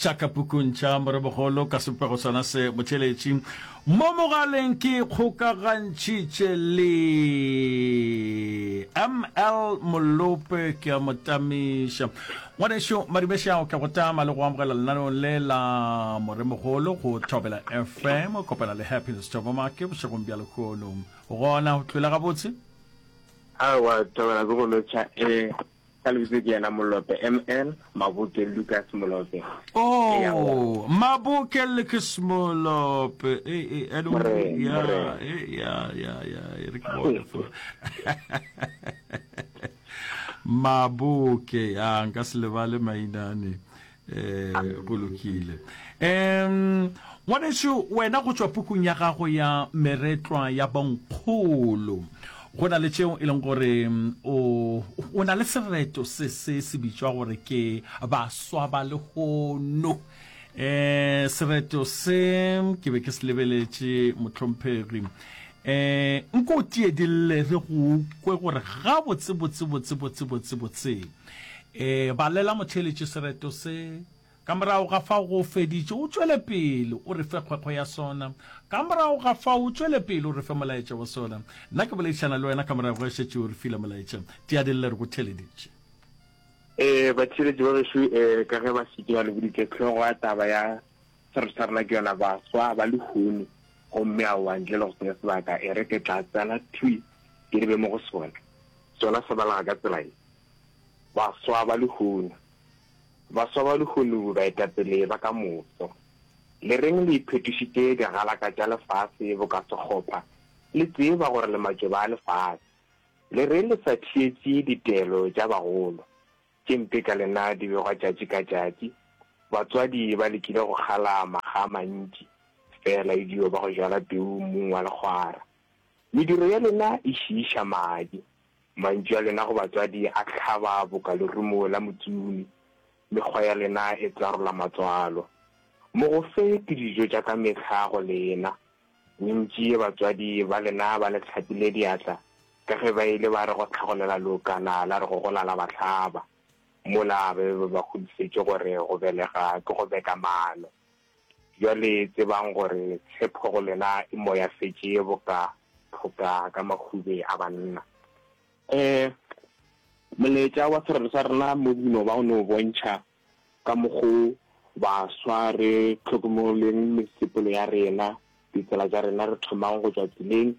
tša ka pukung tša Moremogolo ka sebopego sona se motheeletši. Mo mogaleng ke kgokagantšhitše le ML Molope, ke a mo tamiša. Ngwanešu Madumešao, ke go tama le go amogela lenaneong le la Moremogolo go Thobela FM, o kopana le Happiness Thobomake bošegong bja lehono. Gona o tlwele gabotse? Aowa, Thobela ke go lotšha. Ee, ka lebitso ke yena Molope, ML, Maboke Lucas Molope. Oh, Maboke Lucas Molope. Eh, eh, Morena, ya, morena. eh, ya, ya, ya, e re ke bone fo. Maboke, ya, nka se lebale mainane. Eh, go lokile. Um, ngwanešu, wena go tšwa pukung ya gago ya Meretlwa ya Bonkgolo, go na le tšeo e leng gore o, o na le sereto se se se bitšwa gore ke Baswa ba Lehono. Eh, sereto se ke be ke se lebeletše, mohlomphegi. Eh, nko o tiedille re go kwe gore gabotse botse botse botse botse botse. Eh, balela motheeletši sereto se. Ka morago ga fao go feditše, o tšwele pele o re fe kgwekgwe ya sona. Ka morago ga fao o tšwele pele o re fe molaetša wa sona. Nna ke boledišana le wena ka morago ge šetše o re file molaetša. Tiadille re go theeleditše. Eh, batheeletši ba gešo, eh, ka ge ba šetše ba le boditše hlogo ya taba ya sereto sa rena ke yona Baswa ba Lehono, gomme aowa ntle le go senya sebaka, e re ke tla tsena thwi ke lebe mo go sona. Sona se balega ka tsela ye. Baswa ba lehono. Baswa ba lehono baetapele ba ka moso. Le reng le iphetošitše digalaka tša lefase boka sekgopha, le tseba gore le matšoba a lefase? Le reng le sa theetše ditaelo tša bagolo? Tše mpe ka lena di begwa tšatši ka tšatši. Batswadi ba lekile go kgala makga a mantši, fela e dio ba go jala peu mmung wa lekgwara. Mediro ya lena e šiiša madi. Mantšu a lena go batswadi a hlaba boka lerumo la motsumi. Mekgwa ya lena e tsarola matswalo. Mogofe ke dijo tša ka mehla go lena. Bontši batswadi ba lena ba le hlapile diatla ka ge ba ile ba re go hlagolela leokana la re go gola la ba hlaba. Mola ba be ba ba kgodišetše gore go belega ke go beka maano. Bjale tsebang gore tshepo go lena e moyafetše boka phoka ka mahube a banna. Ee, molaetša wa sererwa sa rena mo no ba o no bontšha ka mokgo baswa re hlokomoleng mesepelo ya rena, ditsela tša rena re thomang go tšwa tseleng.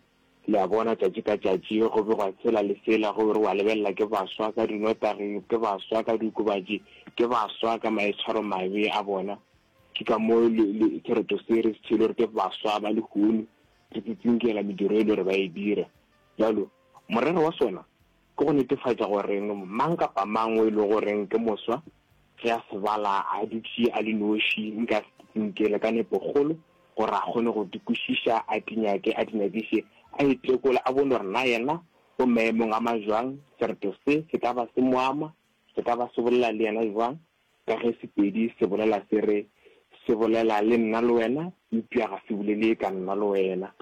Le a bona, tšatši ka tšatši go begwa sela le sela, go be re wa lebelela ke baswa ka dinotagi, ke baswa ka diokobatši, ke baswa ka maitshwaromabe a bona. Ke ka mo le, le, sereto se re se theile gore ke baswa ba lehono, re tsitsinkela mediro e le gore ba e dira. Bjalo, morero wa sona ke go netefatša gore mang kapa mang o e le goreng ke moswa, ge a se bala a dutše a le noši, nka se tsitsinkele ka nepokgolo gore a kgone go di kwešiša, a di nyake, a di nyakiše, a itekole, a bone gore na yena o maemong a majwang, sereto se se ka ba se mo ama, se ka ba se bolela le yena jwang, ka ge Sepedi se bolela se re, Se bolela le nna le wena, eupša ga se bolele ka nna le wena.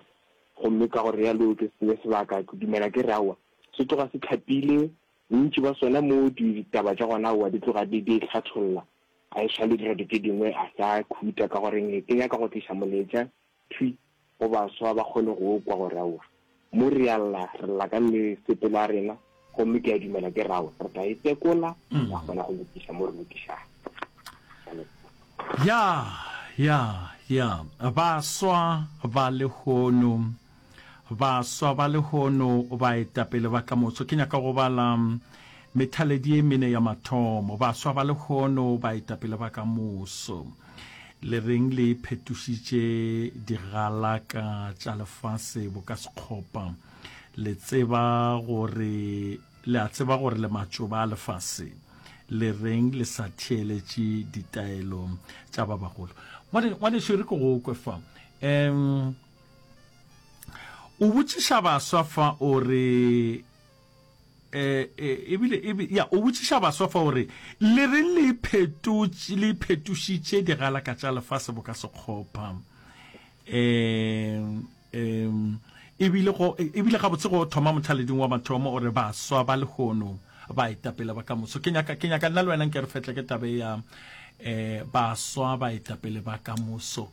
Gomme ka go realo ke senye sebaka, ke dumela ke re aowa, se tloga se hlapile, bontši ba sona mo ditaba tša gona aowa di tloga di di hlatholla, a e swa le direto tše dingwe a sa khuta ka goreng ke nyaka go tliša molaetša thwi go baswa ba kgone go kwa gore aowa mo re a lla, re lla ka mesepelo ya rena gomme ke a dumela ke re aowa re tla e tekola ra kgona go lokiša mo re lokišago. Ya, ya, ya, baswa ba lehono, baswa ba lehono, baetapele ba ka moso. Ke nyaka go bala methaledi ye mene ya mathomo. Baswa ba lehono, baetapele ba ka moso. Le reng le phetošitše digalaka tša lefase boka sekgopa? Le tseba gore, le a tseba gore le matšoba a lefase. Le reng le sa theeletše ditaelo tša ba bagolo? Ngwanešu, re ke go kwe fa. Um, o botšiša baswa fa o re, eh, eh, ebile, ebile, ya, o botšiša baswa fa o re, le reng le iphetotše, le iphetošitše digalaka tša lefase boka sekgopha? Um, um, ebile go, ebile gabotse go thoma mothaleding wa mathomo o re baswa ba lehono baetapele ba ka moso. Ke nyaka, ke nyaka nna le wena nke re fetle ke tabe ya. Um baswa baetapele ba ka moso.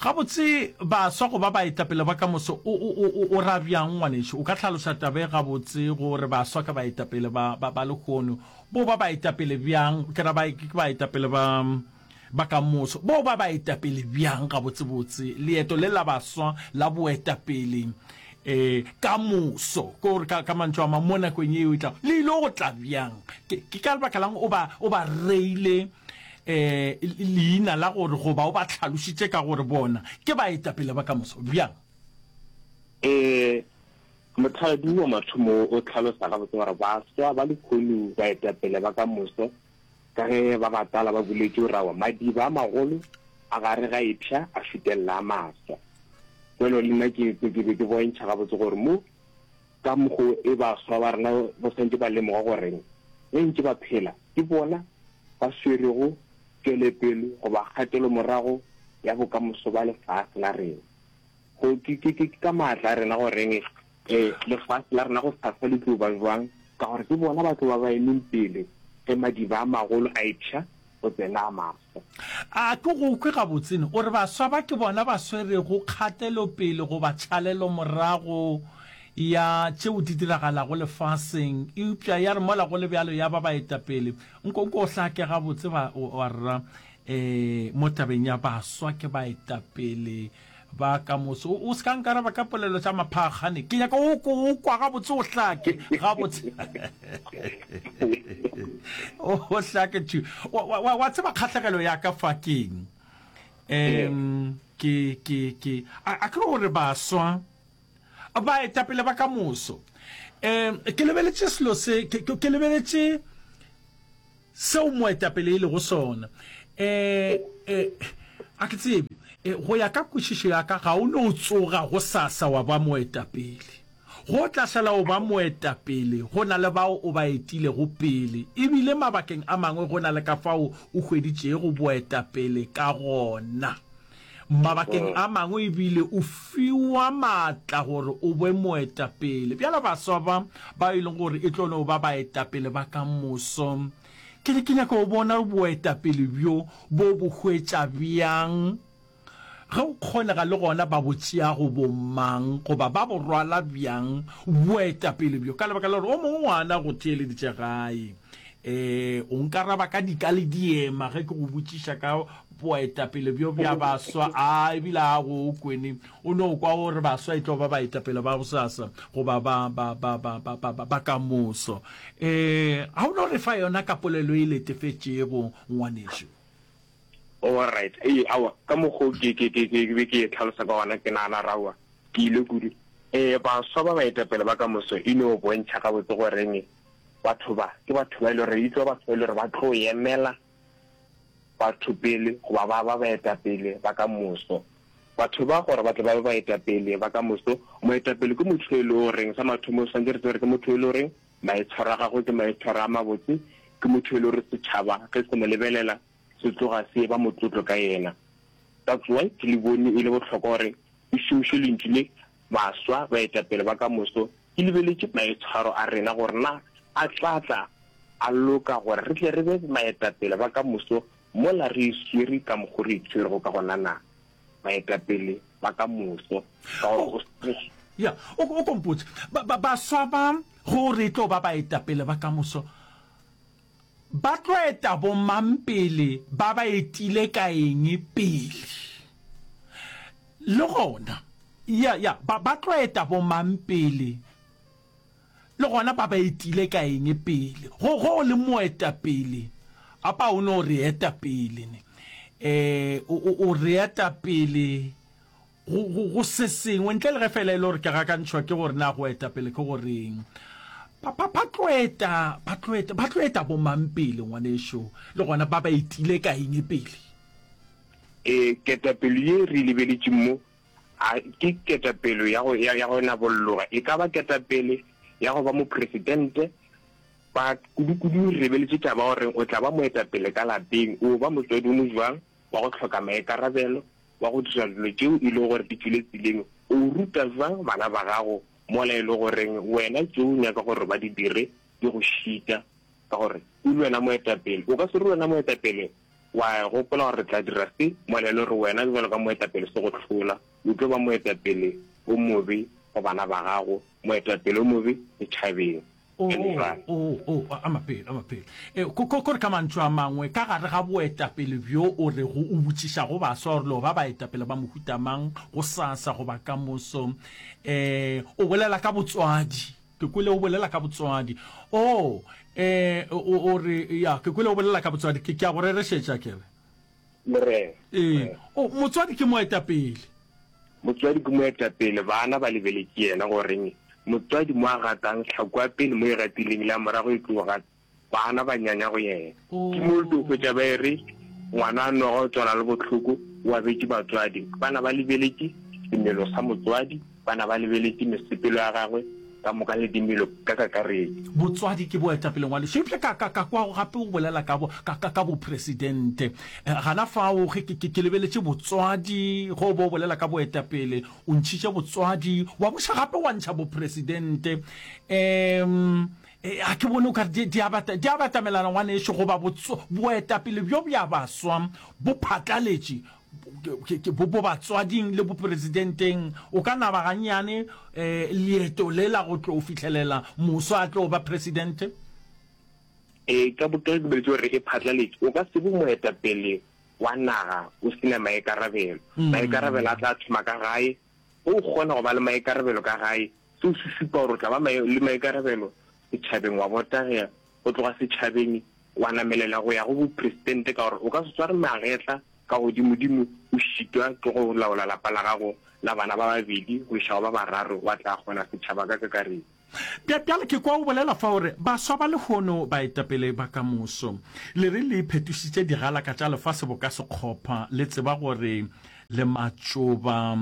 Gabotse baswa go ba baetapele ba ka moso o, o, o, o ra bjang ngwanešu? O ka hlaloša taba e gabotse gore baswa ke baetapele ba, ba, ba lehono. Bo ba baetapele bjang? Ke ra ba, ke baetapele ba, ba ka moso. Bo ba baetapele bjang gabotsebotse? Leeto le la baswa la boetapele um ka moso, ke gore ka, ka mantšu a mang, mo nakong yeo e tlago, le ile go tla bjang? Ke, ke ka lebaka lang o ba, o ba reile um leina la gore goba o ba hlalošitše ka gore bona ke baetapele ba ka moso bjang? Um mothaladi wa mathomo o hlalosa gabotse gore baswa ba lehono baetapele ba ka moso Ka ge ba batala ba boletše gore aowa, madiba a magolo a gare ga epša a šutelela a maswa. Bjalo le nna ke ke be ke bontšha gabotse gore mo ka mokgo e baswa ba rena ba swanetše ba lemoga gore ge ntše ba phela ke bona ba swerego tšwelepele goba kgatelomorago ya bokamoso ba lefase la rena. Go ke ke ke ka maatla a rena goreng e lefase la rena go sasa le tlo ba jwang, ka gore ke bona ba tlo ba ba emeng pele ge madiba a magolo a epša go tsena a maswa. A ke go kwe gabotse ne o re baswa ba ke bona ba swerego kgatelopele goba tšhalelomorago ya tšeo di diragalago lefaseng, eupša ya re mola go le bjalo ya ba baetapele. Nko nko o hlake gabotse ba wa rra e mo tabeng ya baswa ke baetapele ba ka moso. O, o se ka nkaraba ka polelo tša maphakgane. Ke nyaka o, o kwa gabotse o hlake gabotse. o, o hlake tu. Wa, wa, wa, wa tseba kgahlegelo ya ka fa keng? Um, ke, ke, ke, a, a ke gore baswa baetapele ba ka moso. Um, ke lebeletše selo se, ke, ke, ke lebeletše Seo moetapele e lego sona. E, e, a ke tsebe. E, go ya ka kwešišo ya ka, ga o no tsoga gosasa wa ba moetapele. Go tla šala o ba moetapele, go na le bao o ba etilego pele, e bile mabakeng a mangwe go na le ka fao o hweditšego boetapele ka gona. Mabakeng a mangwe e bile o fiwa maatla gore o be moetapele. Bjale baswa ba, ba e leng gore e tlo no ba baetapele ba ka moso, ke re ke nyaka go bona boetapele bjo bo bo hwetša bjang, ge go kgonega le gona ba bo tšea go bo mang goba ba bo rwala bjang boetapele bjo, ka lebaka la gore o mongwe ngwana go theeleditše gae. E, o nkaraba ka dika le diema ge ke go botšiša ka boetapele bjo bja baswa. A ebile a go kwene o no kwa gore baswa e tlo ba baetapele ba gosasa goba ba, ba, ba, ba, ba, ba, ba, ba ka moso. E, ga o no re fa yona ka polelo e letefetšego, ngwanešu. All right. Ee, aowa, ka mokgo ke, ke, ke, ke be ke e tlhalosa ka gona, ke nagana gore aowa, ke ile kudu. Ee, baswa ba baetapele ba ka moso e no bontšha gabotse goreng batho ba ke batho ba e le gore e tlo batho ba e le gore ba tlo emela batho pele goba ba ba baetapele ba ka moso. Batho ba gore ba tle ba be baetapele ba ka moso, moetapele ke motho e le goreng sa mathomo swanetše re tsebe gore ke motho e le goreng maitshwaro a gagwe ke maitshwaro a mabotse, ke motho e le gore setšhaba ge se mo lebelela se tloga se eba motlotlo ka yena. That's why ke le bone e le bohlokwa gore ke šomiše lentšu le baswa baetapele ba ka moso Ke lebeletše maitshwaro a rena gore na a tla tla a loka gore re tle re be baetapele ba ka moso mola re iswere ka mokgo re itshwerego ka gona na? Baetapele ba ka moso. Ka gore o. Ya, o, o ko mpotše, ba, ba, baswa ba go re tlo ba baetapele ba ka moso, ba tlo eta bomang pele, ba ba etile ka eng pele? Le gona, ya, ya, ba, ba tlo eta bomang pele? Le gona ba ba etile ka eng pele? Go, go o le moetapele, apa o no re eta pele, ne? E, o, o, o re eta pele go, go, go se sengwe, ntle le ge fela e le gore ke gakantšhwa ke gore na go eta pele ke go reng. Ba, ba, ba tlo eta, ba tlo eta, ba tlo eta bomang pele, ngwanešu? Le gona ba ba etile ka eng pele? Ee, ketapele ye re e lebeletšeng mo, a ke ketapele ya go, ya, ya go nabolloga. E ka ba ketapele ya go ba mopresidente, ba, kudu-kudu re lebeletše taba ya gore o tla ba moetapele ka lapeng, o ba motswadi o mojwang wa go hloka maikarabelo, wa go dira dilo tšeo e lego gore di tšwele tseleng, o ruta bjang bana ba gago mola e le goreng wena tšeo o nyaka gore ba di dire di go šita, ka gore o le wena moetapele. O ka se re wena moetapele. Wa gopola gore re tla dira se mola e le gore wena bjalo ka moetapele se go hlola. O tlo ba moetapele o mobe go bana ba gago, moetapele o mobe setšhabeng. O, o, o, a mapele, a mapele. E, ko, ko, kore ka mantšu a mangwe, ka gare ga boetapele bjo o rego o botšišago baswa gore lo ba baetapele ba mohuta mang gosasa goba ka moso, e, o bolela ka botswadi. Ke kwele o bolela ka botswadi. O, e, o, o re, ya, ke kwele o bolela ka botswadi. Ke, ke a go rerešetša, ke re. Morena. Ee. O, motswadi ke moetapele. Motswadi ke moetapele, bana ba lebeletše yena goreng motswadi mo a gatang tlhako ya pele mo e gatileng le ya morago e tlo gata, bana ba nyanya go yena. Ke mo o tlo hwetša ba e re ngwana a noga o tswala le bohloko, o abetše batswadi. Bana ba lebeletše semelo sa motswadi, bana ba lebeletše mesepelo ya gagwe ka moka le dimelo ka kakaretšo. Botswadi ke boetapele ngwanešu. Eupša ka, ka, ka kwa gape o bolela ka bo, ka, ka, ka bopresidente. Eh, gana fao ge ke, ke, ke lebeletše botswadi, ge o bo o bolela ka boetapele, o ntšhitše botswadi, wa buša gape wa ntšha bopresidente. Um, a ke bone o ka re di, di a bata, di a batamelana ngwanešu, goba botso, boetapele bjo bja baswa bo phatlaletše bo, bo batswading le bopresidenteng. O ka naba gannyane um leeto le la go tlo fihlelela moswa a tlo ba presidente? Ee, ka bo, ka ge ke boletše gore e phatlaletše, o ka se be moetapele wa naga o se na maikarabelo. Maikarabelo a tla thoma ka gae. Ge o kgona go ba le maikarabelo ka gae, seo se šupa gore o tla ba le maikarabelo setšhabeng, wa botagela go tloga setšhabeng wa namelela go ya go bopresidente, ka gore o ka se sware magetla ka godimodimo o šitwa ke go laola lapa la gago la bana ba babedi go iša go ba bararo, wa tla kgona setšhaba ka kakaretšo. Bja, bjale ke kwa o bolela fa o re, Baswa ba lehono, baetapele ba ka moso. Le re le iphetošitše digalaka tša lefase boka sekgopha, le tseba gore le matšoba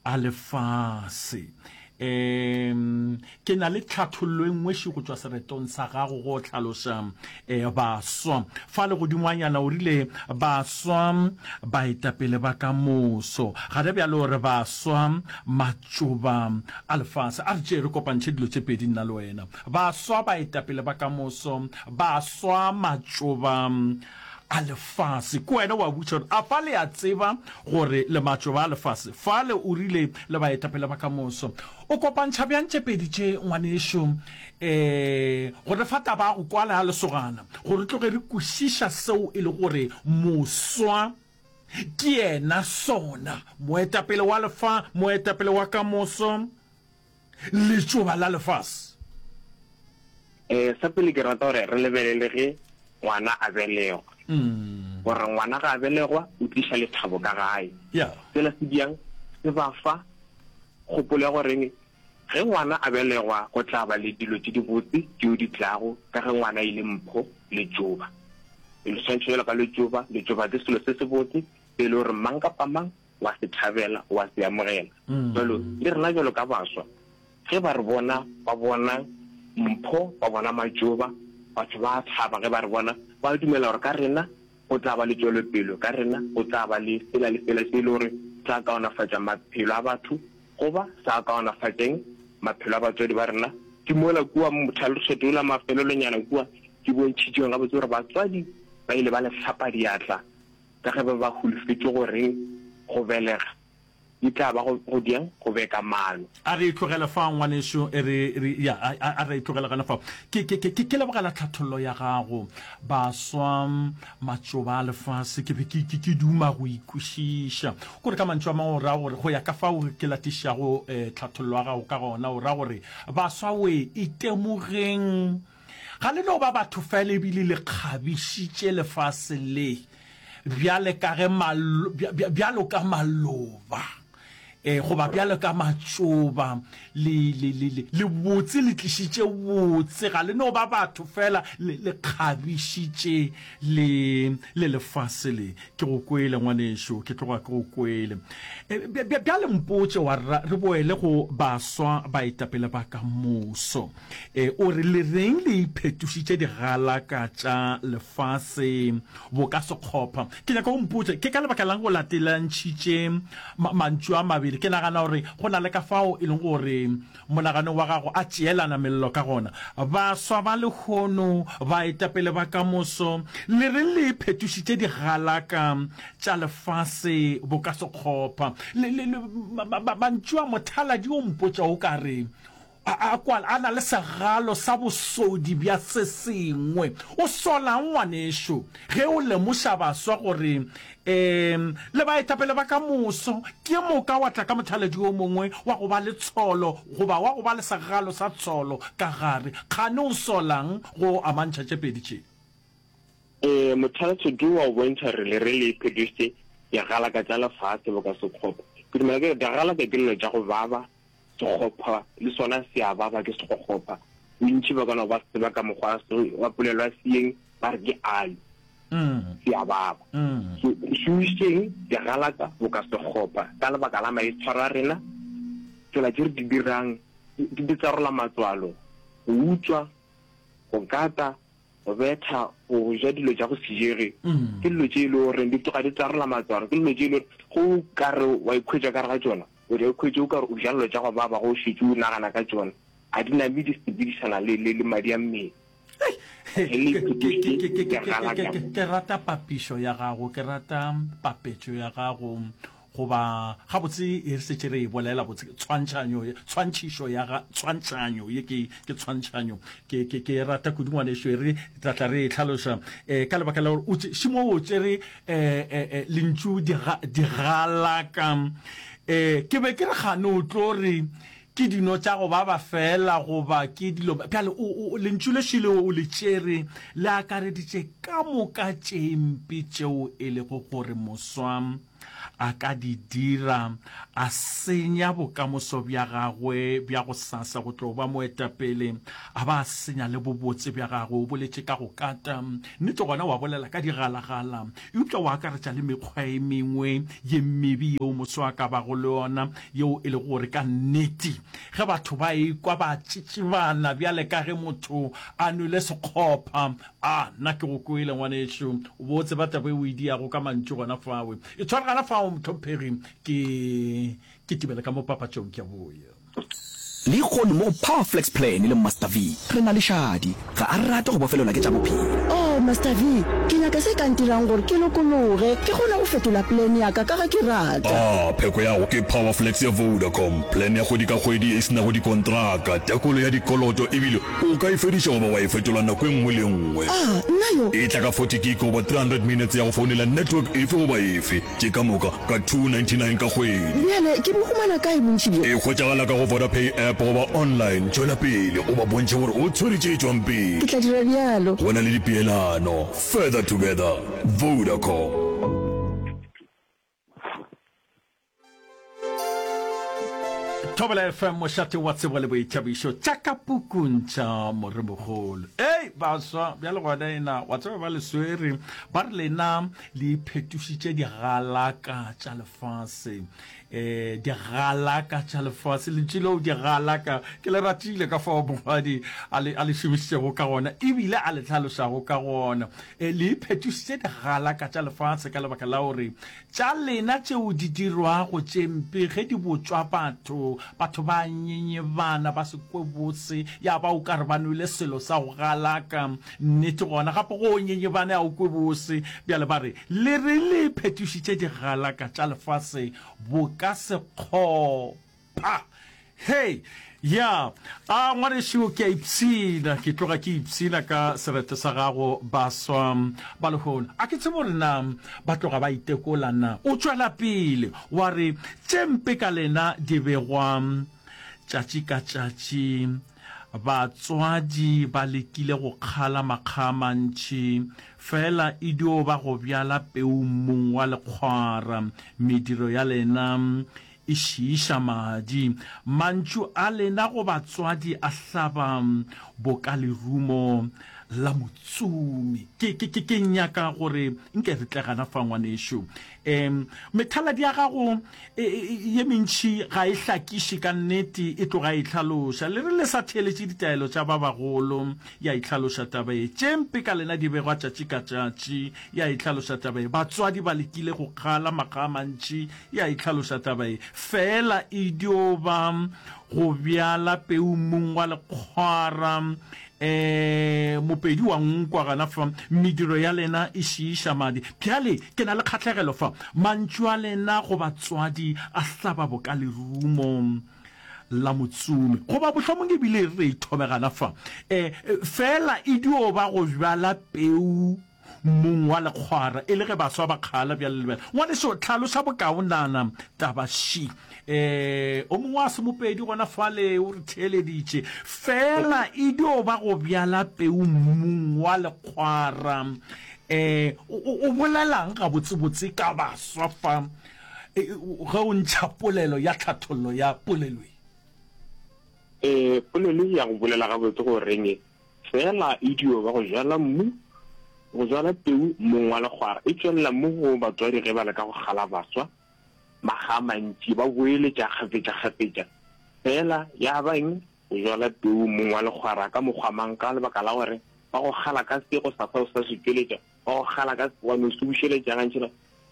a lefase. Um ke na le tlhathollo e nngwe ši go tšwa seretong sa gago go hlaloša um baswa. Fale godingwanyana o rile baswa baetapele ba ka moso. Gare bjale o re baswa matšoba a lefase. A re tšee re kopantšhe dilo tše pedi nna le wena. Baswa baetapele ba ka moso, baswa matšoba a lefase. Ke wena wa botša gore, A fa le a tseba gore le matšoba a lefase? Fale o rile le baetapele ba ka moso. O kopantšha bjang tše pedi tše, ngwanešu? E, go re fa taba ya go kwala ya lesogana, gore re tloge re kwešiša seo e le gore moswa ke yena sona, moetapele wa lefa, moetapele wa ka moso. Letšoba la lefase. Ee, sa pele ke rata gore re lebelele ge ngwana a belegwa. Gore ngwana ga a belegwa o tliša lethabo ka gae. Sela se bjang? Se ba fa kgopolo ya goreng ge ngwana a belegwa go tla ba le dilo tše dibotse tšeo di tlago ka ge ngwana e le mpho, letšoba. E le swantšho bjalo ka letšoba, letšoba ke selo se sebotse se e le gore mang kapa mang wa se thabela, wa se amogela. Bjalo le rena bjalo ka baswa, ge ba re bona, ba bona mpho, ba bona matšoba, batho ba a thaba ge ba re bona, ba dumela gore ka rena go tla ba le tšwelopele, ka rena go tla ba le sela le sela se e le gore tla kaonafatša maphelo a batho goba sa kaonafatšeng maphelo a batswadi ba rena. Ke mola kua mothalotheto ola mafelelonyana kua ke bontšhitšeng gabotse gore batswadi ba ile ba le hlapa diatla Ka ge ba ba holofetše gore go belega e tla ba go, go diang? Go beka maano. A re e tlogele fao, ngwanešu. E re, re, ya, a, a, a re e tlogele gona fao. Ke, ke, ke, ke, ke lebogela tlhathollo ya gago. Baswa, matšoba a lefase, ke be ke, ke, ke duma go e kwešiša. Kore ka mantšu a mangwe o ra gore, go ya ka fao ke latišago eh, tlhathollo ya gago ka gona, o ra gore, baswa we, itemogeng. Ga le no ba batho fela ebile le kgabišitše lefase le bjale ka ge bjalo ka maloba e goba bjalo ka matšoba le le le le le botse le tlišitše botse ga le no ba batho fela le le kgabišitše le le lefase le ke go kwele ngwanešu ke tloga ke go kwele e, bjale mpotše wa re boele go baswa baetapele ba ka moso E, o re, Le reng le iphetošitše digalaka tša lefase boka sekgopha? Ke nyaka o mpotše, ke ka lebaka la'ng o latelantšhitše ma, mantšu a mabedi? pele. Ke nagana gore go na le ka fao e leng gore monaganong wa gago a tšeelana mello ka gona. Baswa ba lehono, baetapele ba ka moso, le reng le iphetošitše digalaka tša lefase boka sekgopha? Le, le, le, mantšu a mothaladi o mpotša o ka re a, a kwala a na le segalo sa bosodi bja se sengwe. O solang ngwanešo ge o lemoša baswa gore um le baetapele ba ka moso, ke moka wa tla ka mothaladi o mongwe wa go ba le tsholo goba wa go ba le segalo sa tsholo ka gare. Kgane o solang go amantšha tše pedi tše? Ee, mothalatšo wa go bontšha re le re le phetošitše digalaka tša lefase boka sekgopo. Ke dumela ke re digalaka ke dilo tša go baba, Sekgopha le sona se a baba ke sekgokgopha. Bontši ba ka no ba se tseba ka mokgwa wa polelo ya Seeng ba re ke alu. Se a baba. So re šomišeng digalaka boka sekgopha ka lebaka la maitshwaro a rena, tsela tše re di dirang di di tsarola matswalo, go utswa, go kata, go betha, go ja dilo tša go se jege, ke dilo tše e le goreng di tloga di tsarola matswalo, ke dilo tše e le gore ge o ka re wa ikhwetša ka gare ga tšona, o tla ikhwetša o ka re o ja dilo tša go baba ge o šetše o nagana ka tšona, ga di name di sepedišana le, le, le madi a mmele. Ke rata papišo ya gago, ke rata papetšo ya gago. Goba, gabotse, e re šetše re e bolela botse, tshwantšhanyo, tshwantšhišo ya ga, tshwantšhanyo, ye ke, ke tshwantšhanyo. Ke, ke, ke e rata kudu, ngwanešu, e re tla tla re e hlaloša, eh, ka lebaka la gore o tše, šimo o tšere, eh, eh, eh, lentšu diga, digalaka. Eh, ke be ke re kgane o tlo re ke dino tša go baba feela goba ke dilo, bjale o, o, lentšu le šele o le tšere le akareditše ka moka tše mpe tšeo e lego gore moswa a ka di dira, a senya bokamoso bja gagwe bja gosasa go tlo ba moetapele, a ba a senya le bobotse bja gagwe. O boletše ka go kata, nnete gona wa bolela ka digalagala, eupša wa akaretša le mekgwa e mengwe ye mebe yeo moswa a ka bago le yona, yeo e lego gore ka nnete ge batho ba ekwa ba tšitšibana bjale ka ge motho a nwele sekgopha, A, nna ke go kwele, ngwanešu. O bo o tseba taba e o e diago ka mantšu gona fawe. E tshware gana fao, mohlomphegi. Ke, ke tibele ka mo papatšong, ke a boya. Lehono mo go Power Flex Plan le Master V, re na le Shadi. Ga a rate go bofelelwa ke tša bophelo. Oh, Master V, ke nyaka se ka ntirang gore ke lokologe, ke kgone go fetola plan ya ka ka ge ke rata. Ah, pheko ya go ke Power Flex ya Vodacom, plan ya kgwedi ka kgwedi e se nago dikontraka, tekolo ya dikoloto ebile O ka e fediša goba wa e fetola nako e nngwe le e nngwe. A, nna yo. E tla ka 40 gig goba 300 minutes ya go founela network efe goba efe, tše ka moka ka 299 ka kgwedi. Bjale ke bo humana kae bontši bjo? E hwetšagala ka go Vodapay app goba online. Tšwela pele o ba bontšhe gore o tshwere tše tšwang pele. Ke tla dira bjalo. Go na le dipeelano. Further together. Vodacom. Thobela FM mošate wa tsebo le boithabišo tša ka pukung tša moremogolo. Ei baswa bjale gona ena wa tseba ba le swere ba re lena le iphetošitše digalaka tša lefase. Eh digalaka tša lefase lentšu leo digalaka ke le ratile ka fao mongwadi a le a le šomišitšego ka gona ebile a le hlalošago ka gona. Eh le iphetošitše digalaka tša lefase ka lebaka la gore Tša lena tšeo di dirwago tše mpe ge di botšwa batho, batho ba nyenyebana, ba se kwe bose, ya ba o ka re ba nwele selo sa go galaka. Nnete gona, gape go nyenyebane a o kwe bose. Bjale ba re, Le re le phetošitše digalaka tša lefase boka sekgopa. Hei! Ya, a ngwanešu, ke a ipshina, ke tloga ke ipshina ka sereto sa gago, baswa ba lehono. A ke tsebe gore na ba tloga ba itekola na. O tšwela pele wa re, Tše mpe ka lena di begwa tšatši ka tšatši. Batswadi ba lekile go kgala makga a mantši, fela e dio ba go bjala peu mmung wa lekgwara. Mediro ya lena E šiiša madi. Mantšu a lena go batswadi a hlaba boka lerumo. la motsomi. Ke, ke, ke, ke nyaka gore nke re tle gana fa, ngwanešu. Um, methaladi ya gago e, e, ye mentši ga e hlakiše ka nnete, e tloga e itlhaloša. Le re le sa theeletše ditaelo tša ba bagolo, ya itlhaloša taba ye. Tše mpe ka lena di begwa tšatši ka tšatši, ya itlhaloša taba ye. Batswadi ba lekile go kgala makga a mantši, ya itlhaloša taba ye. Feela e dio ba go bjala peu mmung wa lekgwara. Ee, Mopedi wa nkwa gana fa, mediro ya lena e šiiša madi. Bjale ke na le kgahlegelo fa. Mantšu a lena go batswadi a hlaba boka lerumo la motsomi. Goba mohlomong e bile re ithome gana fa. Ee, feela e dio ba go bjala peu Mong wa lekgwara, e le ge baswa ba kgala bjale le bjale. Ngwaneso, hlaloša bokaonana taba še. E, o mongwe wa semopedi gona fale o re theeleditše. Feela e dio ba go bjala peu mmung wa lekgwara. E, o, o, o bolelang gabotsebotse ka baswa fa, e, ge o ntšha polelo ya tlhathollo ya polelo ye? E, polelo ye ya go bolela gabotse go reng e? Feela e dio ba go jala mmu, go jala peu mmung wa lekgwara. E tšwelela mo go batswadi ge ba leka go kgala baswa makga a mantši, ba boeletša kgafetšakgafetša. Feela ya ba eng? Go jala peu mmung wa lekgwara ka mokgwa mang? Ka lebaka la gore ba go kgala ka se, gosasa o sa se tšweletša, ba go kgala ka se, wa no se bušeletša gantši,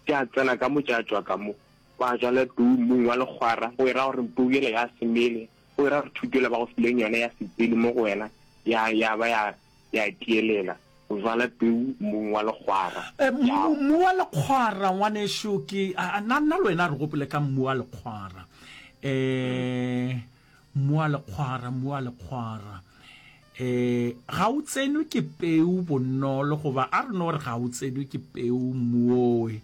tša tsena ka mo tša tšwa ka mo. Ba jala peu mmung wa lekgwara, go e ra gore peu yela ya se mele. Go era gore thuto yela ba go fileng yona ya se tsene mo go wena, ya, ya ba ya, ya tielela. O jala peu mmung wa lekgwara. Eh, mmu, mmu wa lekgwara, ngwanešu, ke, a, a, nna, nna le wena re gopole ka mmu wa lekgwara. Eh, mmu wa lekgwara, mmu wa lekgwara. Eh, ga o tsenwe ke peu bonolo, goba a re no re ga o tsenwe ke peu mmu owe,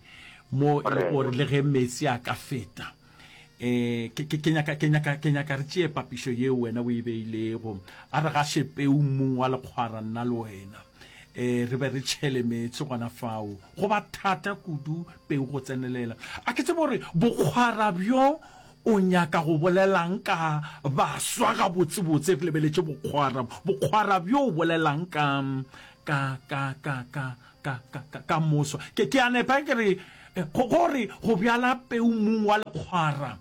mo e le gore le ge meetse a ka feta. Eh, ke, ke, ke nyaka, ke nyaka, ke nyaka re tšee papišo yeo wena o e beilego. A re gaše peu mmung wa lekgwara, nna le wena. Eh, re be re tšhele meetse gona fao. Go ba thata kudu peu go tsenelela. A ke tsebe gore bokgwara bjo o nyaka go bolelang ka baswa gabotsebotse, re lebeletše bokgwara. Bokgwara bjo o bolelang ka, ka, ka, ka, ka, ka, ka, ka, ka moso. Ke, ke a nepa ke re, eh, go, gore go bjala peu mmung wa lekgwara.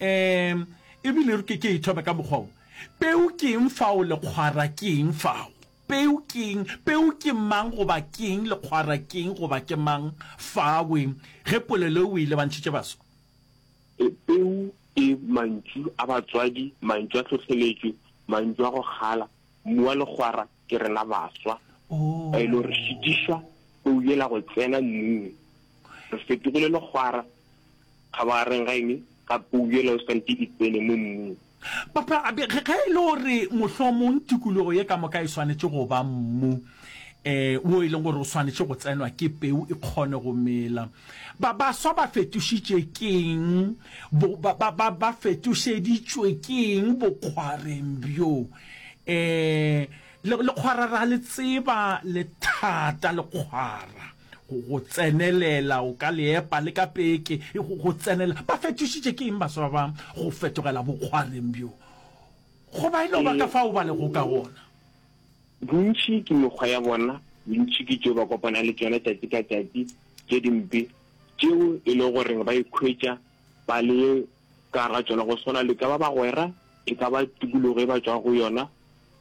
Um, ebile ke, ke e thome ka mokgwa wo. Peu ke eng fao, lekgwara ke eng fao? Peu ke eng? Peu ke mang goba ke eng? Lekgwara ke eng goba ke mang fawe? Ge polelo e o e lebantšhitše baswa. E, peu ke mantšu a batswadi, mantšu a tlhohleletšo, mantšu a go kgala. Mmu wa lekgwara ke rena baswa ba e le gore re šitišwa peu yela go tsena mmung. Re fetogile lekgwara kgabagareng ga eng? Ga peu yela o swanetše e tsene mo mmung. Papa, ge e le gore mohlomong tikologo ye ka moka e swanetše go ba mmu um wo e leng gore o swanetše go tsenwa ke peu e kgone go mela, ba baswa ba fetošitše keng? Ba, ba, ba, ba fetošeditšwe keng bokgwareng bjo? E, le, lekgwara ra le tseba, le thata lekgwara, go, go tsenelela, o ka le epa le ka peke, e, go, go tsenelela. Ba fetošitše ke eng baswa ba go fetogela bokgwareng bjo? Goba e no ba ka fao ba lego ka gona? Bontši ke mekgwa ya bona, bontši ke tšeo ba kopana le tšona tšatši ka tšatši, tše dimpe, tšeo e lego goreng ba ikhwetša ba le ka gare ga tšona, go swana le ka ba bagwera, e ka ba tikologo e ba tšwago go yona,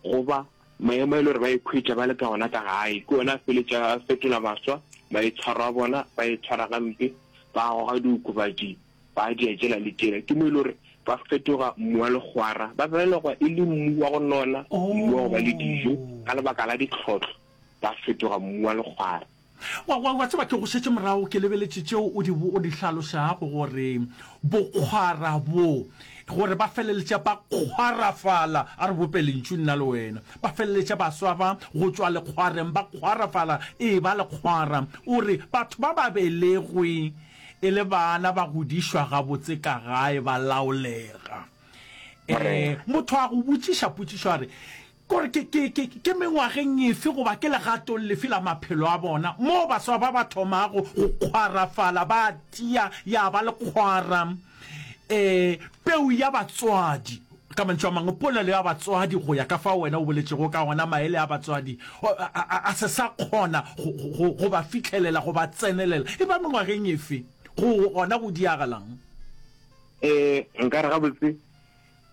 goba maemo a e le gore ba ikhwetša ba le ka ona ka gae. Ke ona a feletša a fetola baswa maitshwaro a bona, ba itshwara gampe, ba goga diokobatši, ba dia tšela le tšela. Ke mo e le gore ba fetoga mmu wa lekgwara, ba belegwa e le mmu wa go nona, mmu wa go ba le dijo, ka lebaka la ditlhohlo ba fetoga mmu wa lekgwara. Wa, wa, wa tseba, ke go šetše morago, ke lebeletše tšeo o di, o di hlalošago, gore bokgwara bo, gore ba feleletša ba kgwarafala, a re bope lentšu nna le wena, ba feleletša baswa ba go tšwa lekgwareng ba kgwarafala, ee, ba lekgwara. O re, batho ba ba belegwe e le bana, ba godišwa gabotse ka gae, ba laolega. Ee, motho a go botšiša potšišo a re, Gore ke, ke, ke, ke mengwageng efe goba ke legatong lefe la maphelo a bona moo baswa ba ba thomago go kgwarafala, ba tia, ya ba lekgwara, ee, peu ya batswadi. Ka mantšu a mangwe, polelo ya batswadi go ya ka fao wena o boletšego ka gona, maele a batswadi a, a se sa kgona go, go, go ba fihlelela, go ba tsenelela. E ba mengwageng efe go gona go diagalang? Ee, nka re gabotse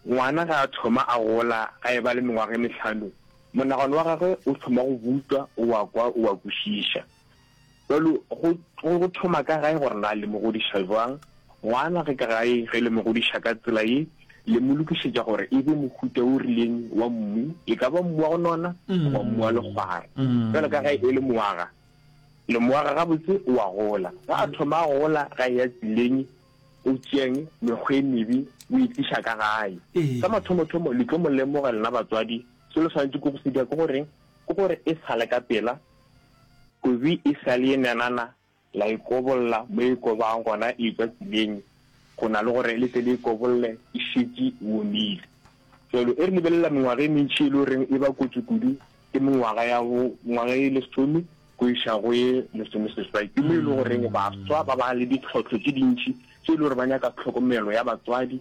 ngwana ge a thoma a gola, a eba le mengwaga e mehlano, monagano wa gagwe o thoma go butšwa, o a kwa, o a kwešiša. Bjalo go, go, go thoma ka gae gore na le mo godiša bjang. Ngwana ge ka gae, ge le mo godiša ka tsela ye, le mo lokišetša gore e be mohuta o rileng wa mmu, e ka ba mmu wa go nona goba mmu wa lekgwara. Bjalo ka ge e le moaga, le moaga gabotse o a gola. Ge a thoma a gola, ge a eya tseleng, o tšeang mekgwa e mebe o e tliša ka gae. Sa mathomothomo, le tlo mo lemoga lena batswadi, se le swanetše ke go se dira ke goreng? Ke gore e sa le ka pela, Kobi e sa le ye nanana, la e kobolla mo e kobang gona e etšwa tseleng, go na le gore le tle le e kobolle e šetše e omile. Bjalo e re lebelela mengwaga e mentši e le goreng e ba kotsi kudu ke mengwaga ya bo ngwaga e lesome go iša go ye lesomeseswai. Ke mo e le goreng baswa ba ba le ditlhohlo tše dintši tše e le gore ba nyaka tlhokomelo ya batswadi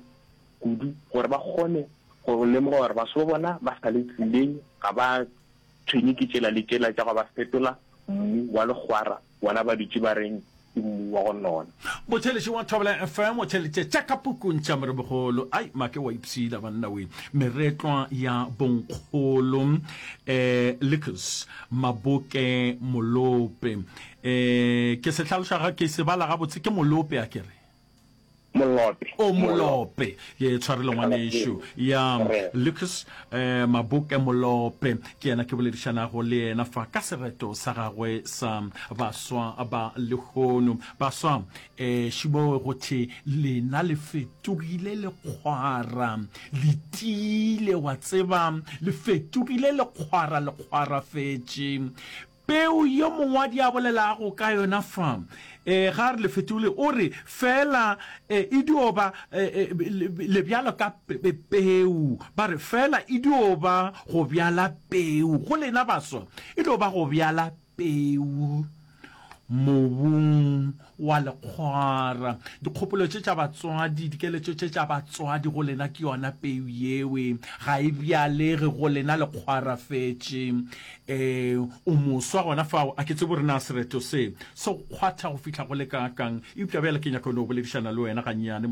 kudu gore ba kgone go lemoga gore baswa ba bona ba sa le tseleng, ga ba tshwenye ke tšela le tšela tša go ba fetola mmu wa lekgwara, bona ba dutše ba reng ke mmu wa go nona. Motheeletši wa Thobela FM o theeleditše tša ka pukung tša Moremogolo. Ai, make wa ipshina banna we. Meretlwa ya bonkgolo eh Lucas Maboke Molope. Eh ke se hlaloša ga ke se bala gabotse ke Molope a ke re. Molope. O Molope. Ke tshwarelo ngwanešu. Ya Lucas eh, Maboke Molope ke yena ke boledišanago le yena fa ka sereto sa gagwe sa baswa ba lehono. Baswa eh šibowe go the lena le fetogile lekgwara le tiile wa tseba le fetogile lekgwara lekgwara fetše Peu yo mongwadi a bolelago ka yona fa, e, ga a re le fetogile, o re feela e, e dio ba e, e, le bjalo ka pe, peu. Ba re feela e dio ba go bjala peu. Go lena baswa, e dio ba go bjala peu mobung wa lekgwara. Dikgopolo tše tša batswadi, dikeletšo tše tša batswadi go lena ke yona peu yewe. Ga e bjalege go lena lekgwara fetše. Ee, o moswa gona fao. A ke tsebe gore na sereto se se go kgwatha go fihla go le kaakang, eupša bjale ke nyaka go no boledišana le wena gannyane.